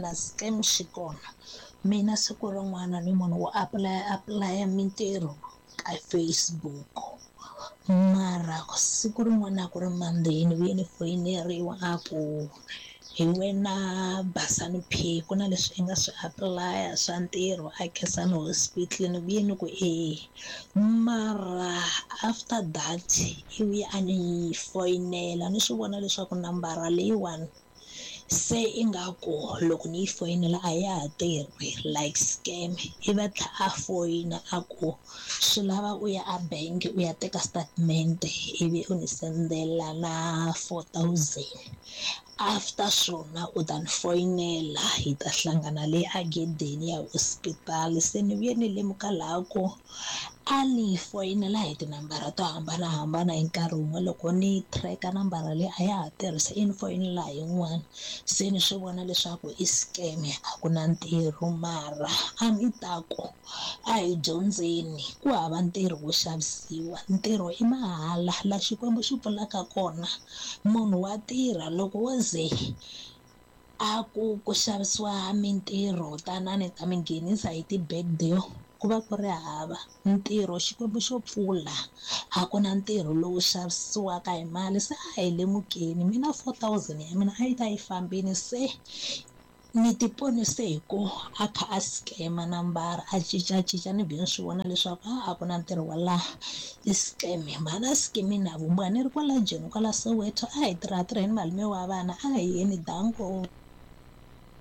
na scam xi kona. Mina siku rin'wana ni munhu wo apulaya apulaya mintirho ka Facebook, mara siku rin'wana a ku ri Monday ni vuye ni foyineriwa a ku hi wena Basani P ku na leswi i nga swi apulaya swa ntirho a Khensani Hospital. Ni vuye ni ku e, mara after that i vuye a ni foyinela ni swi vona leswaku nambara leyiwani se ingaku loko ni yi foyinela a ya ha tirhi, like scam. Ivi a tlhela a foyina a ku swi lava u ya a bank u ya teka statement ivi u ni sendela na 4000, after swona u ta ni foyinela hi ta hlangana le agedeni ya hospital. Se ni vuye ni lemuka laha ku a ni foyinela hi tinambara to hambanahambana hi nkarhi wun'we, loko ni tracker nambara leyi a ya ha tirhisa i ni foyinela hi yin'wana, se ni swi vona leswaku i scam, a ku na ntirho. Mara a ni ta ku a hi dyondzeni, ku hava ntirho wo xavisiwa, ntirho i mahala, la Xikwembu xi pfulaka kona munhu wa tirha. Loko wo ze a ku ku xavisiwa mintirho tanani ni ta mi nghenisa hi ti-backdoor, ku va ku ri hava ntirho. Xikwembu xo pfula, a ku na ntirho lowu xavisiwaka hi mali. Se a hi lemukeni, mina 4000 ya mina a yi ta yi fambini, se ni ti ponise hi ku a kha a scam nambara a cincacinca, ni vhe ni swi vona leswaku a ku na ntirho wa laha, i scam. Mhana scam na vumbiwa ni ri kwala Joni kwala Soweto, a hi tirha tirheni malume wa vana, a hi yeni danko.